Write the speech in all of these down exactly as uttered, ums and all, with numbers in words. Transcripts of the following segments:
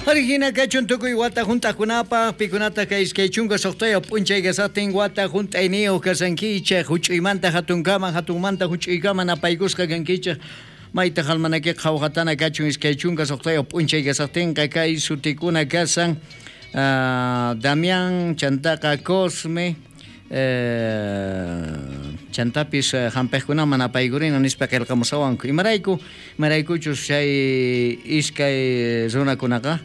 Origina kachun tukuy wata junt'aqkunapaq pikunata kay iskay chunka suqtayuq p'unchay kasaqtin wata junt'ayniyuq kasankichej huch'uymanta hatunkaman hatunmanta huch'uykaman apaykusqa kankichej mayta almanaque qhawqatana kachun iskay chunka suqtayuq p'unchay kasaqtinqa kay sutikuna kasan uh, Damián chantaqa Cosme eh, chantapis uh, hampejkunaman apaykurina nispa qillqamusawanku imarayku imaraykuchus chay iskay runakunaqa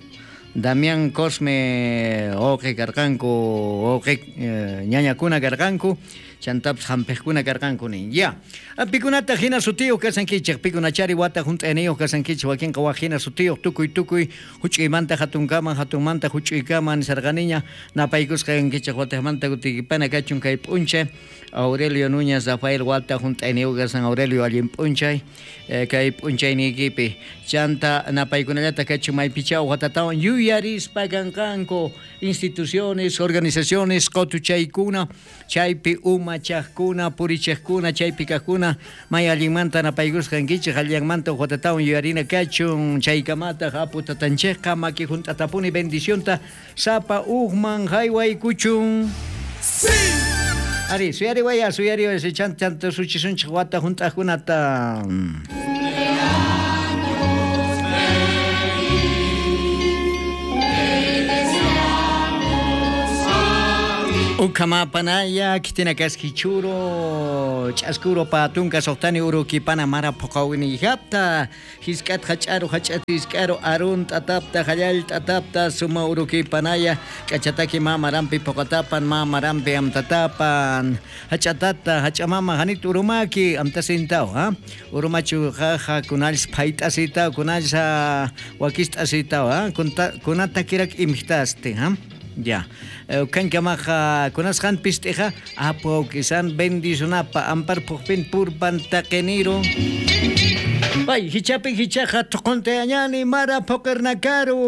Damián Cosme wawqi karqanku wawqi eh, ñañakuna karqanku chantapis hampejkuna karqanku nin ya pikunata hina sutiyuq kasankichej pikunachari wata junt'ayniyuq kasankichej wakinqa waj hina sutiyuq tukuy tukuy huch'uymanta hatunkaman hatunmanta huch'uykaman nisarqaniña napaykusqa kankichej wataqmanta kutikipana kachun kay p'unchay Aurelio Núñez Rafael wata junt'ayniyuq kasan Aurelio allin p'unchay eh, kay p'unchayniykipi chanta napaykunallata kachun maypichaw watatawan yuyarispa kanqanku instituciones, organizaciones, qotuchaykuna chaypi umachaqkuna purichaqkuna chaypi kaqkuna may allinmanta napaykusqa kankichej allinmanta watatawan yuyarina kachun chaykamataq apu tatanchejqa maki junt'atapuni bendicionta sapa ujman haywaykuchun. Sí. Ari, suyari waya, suyari waya, chan chanta suchisunchej wata junt'aqkunata. Ukamapanaya, kitina kaskichuro, ch'askuro patunka soqtani urukipana mara puqawini hapta, hisk'at hach'aru hach'at hisk'aru arun t'atapta hallal t'atapta suma urukipanaya, k'achataki mamarampi puqatapan mamarampi amtatapan, hach'atata hach'amama hanit urumaki amtasintaw, ha? Urumachu jaja kunallis phayt'asitaw kunallis wakist'asitaw, ha? Kunata kirak imijtasti, ha? Ya. Kankamaqa kunasqan pist'iqa apu kisan bendicionapa ampar puqpin purpan taqiniru. Bay hichapi hichaqa tuquntayañani mara puqirnakaru.